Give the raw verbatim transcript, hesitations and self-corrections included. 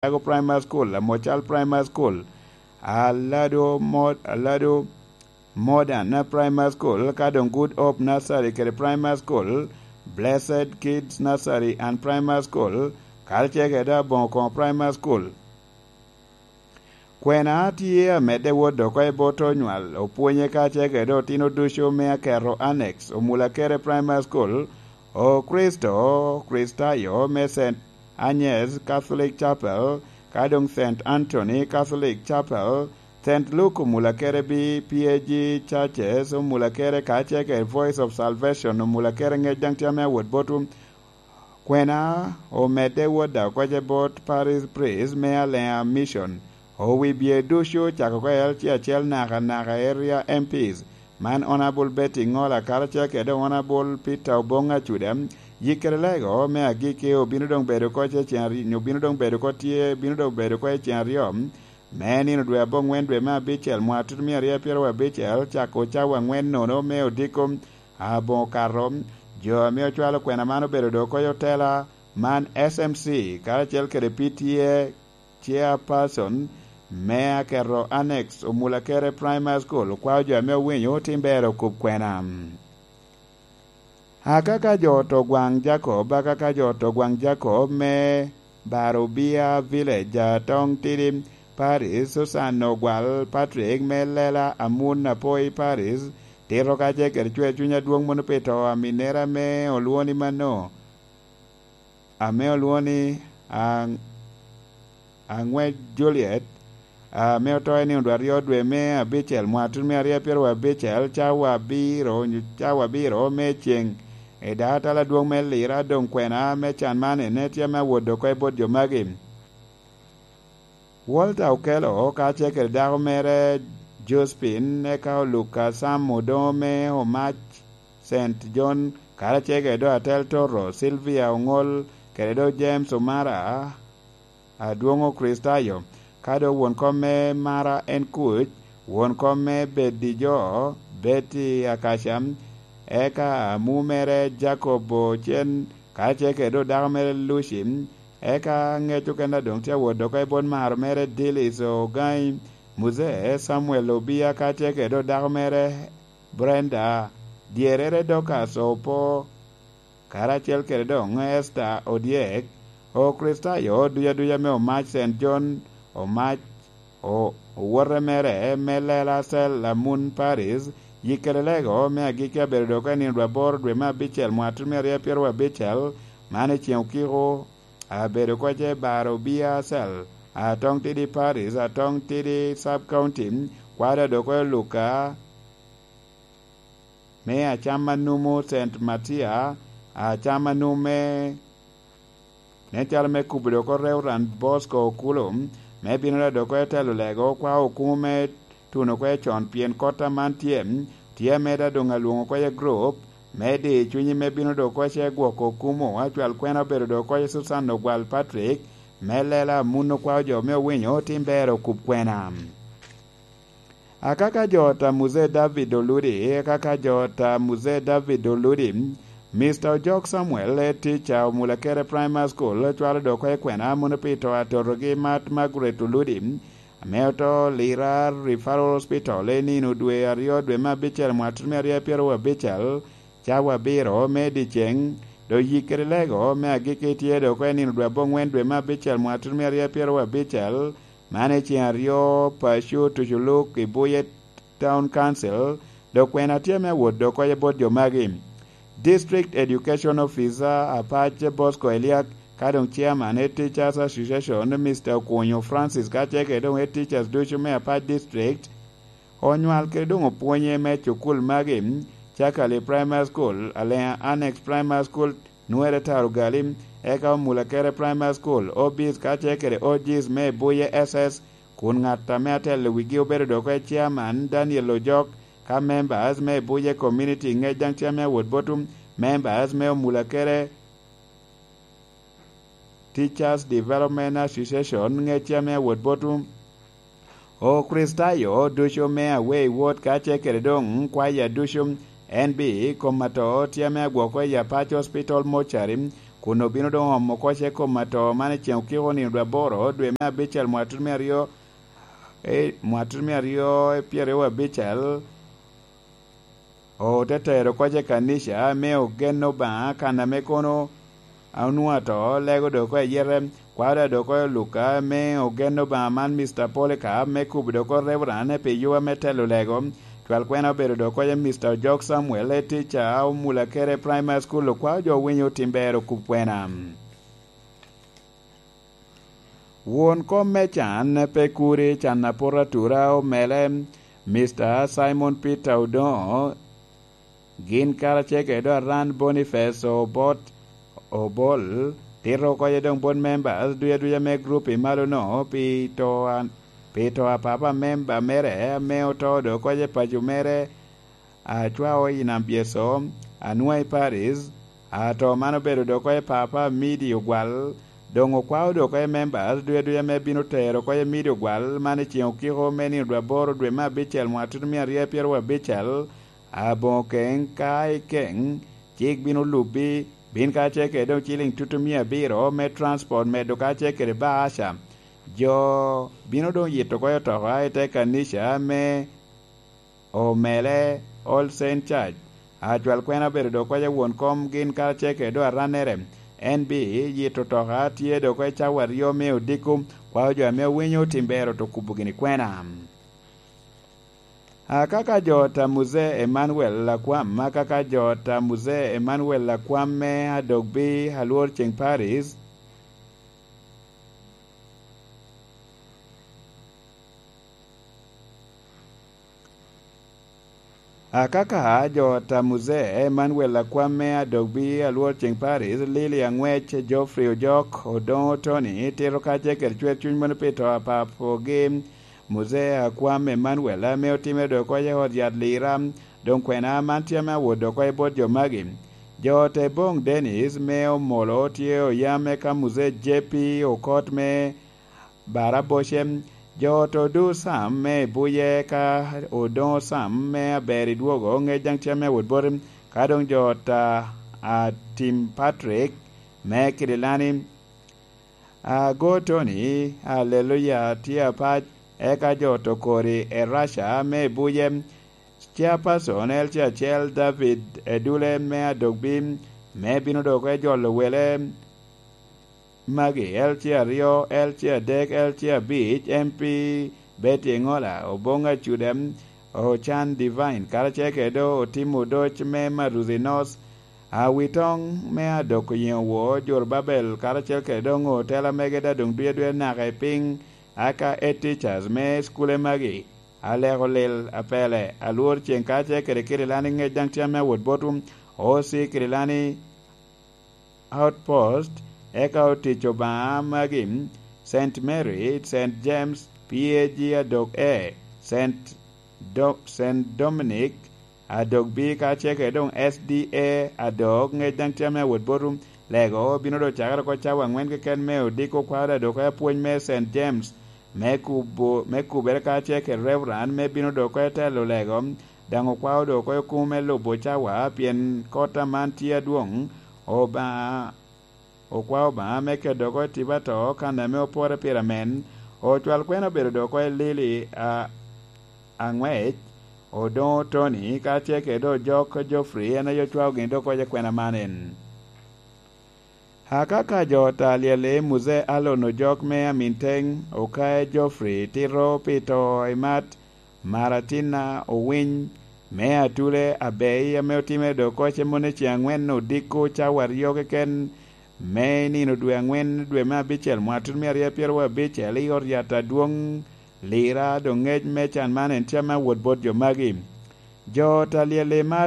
Chicago Primary School, Amocal Primary School, Alado Mod-, Alado Modern Primary School, ka doŋ Good Hope Nursery kede Primary School, Blessed Kids Nursery and Primary School, karacel kede Aboŋo Koŋo Primary School. Kwena tye amedde wot oko i bot onywal, opwonye karacel kede otino ducu me Aketo Annex, Omulakere Primary School, Okricito, Okricitayo me Saint Agnes Catholic Chapel, ka doŋ Saint Anthony Catholic Chapel, Saint Luke Omulakere B P A G Churches Omulakere, karacel kede Voice of Salvation Omulakere ŋec daŋ tye ame awot botwu. Kwena omedde wot oko i bot Parish Priest me Alea Mission, owibye ducu cako oko i L C acel naka naka Area M Ps, man Honourable Betty Ngola karacel kede Honourable Peter Obong Acuda. Yikkere lego me agikki obino doŋ bedo oko i ceŋ aryo, obino doŋ bedo oko tye, bino doŋ bedo oko i ceŋ aryo me nino dwe aboŋwen dwe me abicel mwaka tutumia aryo pyeraryo abicel, cako cawa aŋwen nono me odiko aboŋo okato. Jo ame ocwalo kwena man obedo doŋ oko i otela man, S M C, karacel kede P T A Chairperson me Aketo Annex Omulakere Primary School, okwao jo ame owinyo otim ber okub kwena. Akaka jo ot Ogwaŋ Jacob, akaka jo ot Ogwaŋ Jacob me Barobia Village, Atong Tidi Parish, Susan Ogwal Patrick me Lela Amun Apoi Parish, tito kacel kede cwer cuny adwoŋ mono pi to a minnere ame olwoŋo ni Mano, ame olwoŋo ni Aŋ-, Aŋwec Juliet, ame oto i nino dwe aryo dwe me abicel mwaka tutumia aryo pyeraryo abicel, cawa abiro, onyo cawa abiro me ceŋ. I daŋ atala adwoŋ me Lira, doŋ kwena me can man ene tye ame awot oko i bot jo magi. Walter Okello kacel kede dako mere Josephine, eka Oluka Sam Odoŋo me Omac Saint John, karacel kede doŋ Atel Toto, Sylvia Oŋol, kede doŋ James Omara, adwoŋ Okricitayo, ka doŋ won kom me Mara en Kuc, won kom me Bedijo, Betty Akaca, eka amu mere Jacob Ocen, karacel kede doŋ dako mere Lucy, eka ŋec okene a doŋ tye awot oko i bot maro mere Dilis Ogaŋi, Muzee Samuel Obia, karacel kede doŋ dako mere Brenda, dyerrere Dorcas Opo, karacel kede doŋ Esther Odyek, Okricitayo duc aduca me Omac Saint John, Omac, o-, owote mere me Lela Cell Amun Paris, yikkere lego me agikki abedo doŋ oko i nino dwe aboro dwe me abicel mwaka tutumia aryo pyeraryo abicel, man i ceŋ okiko, abedo oko i Barobia Cell, Atong Tidi Paris, Atong Tidi Sub County, kwado doŋ oko i Luka, me Acam Anumu Saint Matia, Acam Anumu me, nen calo me kubo doŋ oko Reverend Bosco Okulu, me bino doŋ oko i telo lego kwa okumu me tuno oko i con, pien kota man tye, tye ameda doŋ alwoŋo oko i group, me di cunyi me bino doŋ oko ce gwoko okumu, acwal kwena obedo doŋ oko i Susan Ogwal Patrick, me Lela Amun okwao jo me owinyo otim ber okub kwena. Akaka jo ot a Muzee David Oludi, akaka jo ot a Muzee David Oludi, Mister Ojok Samuel, head teacher Omulakere Primary School, cwalo doŋ oko i kwena mono pi to a totogi Mat Margaret Oludi, ame oto Lira Referral Hospital i nino dwe aryo dwe me abicel mwaka tutumia aryo pyeraryo abicel, cawa abiro me dyeceŋ, doŋ yikkere lego me agikki tye doŋ oko i nino dwe aboŋwen dwe me abicel mwaka tutumia aryo pyeraryo abicel, man i ceŋ aryo paco tuco luk i Buye Town Council, doŋ kwena tye ame awot doŋ oko i bot jo magi. District Education Officer Apac Bosco Eliak, ka doŋ Chairman Head Teachers Association, Mister Okunyo Francis, kacel kede doŋ Head Teachers ducu me Apac District, onywal kede doŋ opwonye me cukul magi, Cakali Primary School, Alea Annex Primary School, Nwere Taro Gali, eka Omulakere Primary School, O Bs kacel kede O Gs me Buye S S, kun ŋat ame atelo wigi obedo doŋ oko i Chairman Daniel Ojok, ka members me Buye Community ŋec daŋ tye ame awot botwu, members me Omulakere Teachers Development Association ŋec tye ame awot botwu. Okricitayo ducu me Awei Ward kacel kede doŋ kwaya ducu, N B komato tye ame agwoko i Apac Hospital Mortuary, kun obino doŋ omo koc i kom ato man i ceŋ okiko nino dwe aboro, dwe me abicel, mwatut me aryo, e, mwatut me aryo e pyeraryo abicel. Ote tero koc i kanica me ogen Obaŋa, kan ame kono onwoŋo ato lego dok oko ayete, kwaro dok oko Luka me ogen Obaŋa man, Mister Polycarp me kubo dok oko Reverend pi yuba me telo lego, cwal kwena obedo dok oko Mister Ojok Samuel, e tica omula kede Primary School, okwao jo winyo tim ber okub kwena. Won kom me can pe kuri, can apot atura omele, Mister Simon Peter Odoŋo, gin karacel kede Aran Boniface Obot Obol, tito oko doŋ bot members duc aduca me group i malo-no pi to a, pi to a papa member mere ame oto dok oko i paco mere, acwao i Nam Byeso, anwoŋo i Paris, ato man obedo dok oko i papa Midi Ogwal, doŋ okwao dok oko i members duc aduca me bino tero oko i Midi Ogwal man i ceŋ okiko me nino dwe aboro dwe me abicel mwaka tutumia aryo pyeraryo abicel, aboŋo keŋ ka i keŋ, cik bino lubbi, bin kacel kede doŋ ciliŋ tutumia abiro me transport medo kacel kede baaca. Jo bino doŋ yito oko otoka i te kanica me omele All Saint Church. Acwal kwena obedo dok oko won kom gin karacel kede doŋ arannere. En bi yito otoka tye dok oko i cawa aryo me odiko, kwao jo ame owinyo tim ber oto kubo gini kwena. Akaka jo ta Muzee Emmanuel Lakwam, akaka jo ta Muzee Emmanuel Lakwam me Adogbi Alwor Ceŋ Paris, Akaka jo ta Muzee Emmanuel Akwam me Adogbi Alwor Ceŋ Paris, Lili Aŋwec, Geoffrey Ojok, Odoŋo Tony, tito kacel kede cwer cuny mono pi to a papogi, Muzee Akwam Emmanuel, ame otimere dok oko i ot yat Lira, doŋ kwena man tye ame awot dok oko i bot jo magi. Jo te Boŋ Dennis me Omolo tye oyam, eka Muzee J P Okot me Barabocem, jo ot Odu Sam me Ibuye, ka Odoŋo Sam me Aber i Dwogo, ŋec daŋ tye ame awot boti, ka doŋ jo ot a, a Tim Patrick me Kirilani, Ago Tony, Aleluya, tye apac, eka jo ot Okori, Erasha me Ibuye, Chairperson L C acel David Edule me Adogbi, me bino dok ejolo wele, magi, L C aryo, L C adek, L C abic, M P Betty Eŋola, Oboŋ Acuda, Ocan Divine, karacel kede Otim Odoc me Maruzi North, Awitoŋ me Adok Oyeŋo Woo, Jorubabel, karacel kede doŋ otela mege da doŋ duye duye naka i piny, aka Head Teachers me cukule magi, Aleko Lil, Apele, Alwor Ceŋ, karacel kede Kirilani ŋec daŋ tye ame awot botwu, O C Kirilani, Outpost, eka otic Obaŋa magi, Saint Mary, Saint James, P A G Adok A, Saint Do-, Saint Dominic Adok B, kacel kede doŋ S D A Adok, ŋec daŋ tye ame awot botwu. Lego bino doŋ cakere oko cawa aŋwen keken me odiko kwaro Adok apwony me Saint James, me kubo, me kubere kacel kede Reverend, me bino doŋ oko etelo lego, daŋ okwao doŋ oko i kumo me lubo cawa, pien kot aman tye adwoŋ. Obaŋa, okwao Obaŋa me kedo oko i tipo ato kan ame opore pire amen. Ocwal kwena obedo doŋ oko i Lili a, Aŋwec, Odoŋo Tony, kacel kede doŋ Ojok Geoffrey, en aye ocwao gin doŋ oko i kwena man en. Akaka jo ta lyel i Muzee Alon Ojok me Aminteng, Okae Geoffrey, tito pi to i mat, Maratina Owiny me Atule Abei, ame otimere doŋ oko cem moni ceŋ aŋwen odiko cawa aryo keken me nino dwe aŋwen, dwe me abicel, mwaka tutumia aryo pyeraryo abicel, i ot yat adwoŋ Lira, doŋ ŋec me can man en tye ame awot bot jo magi. Jo ta lyel i mat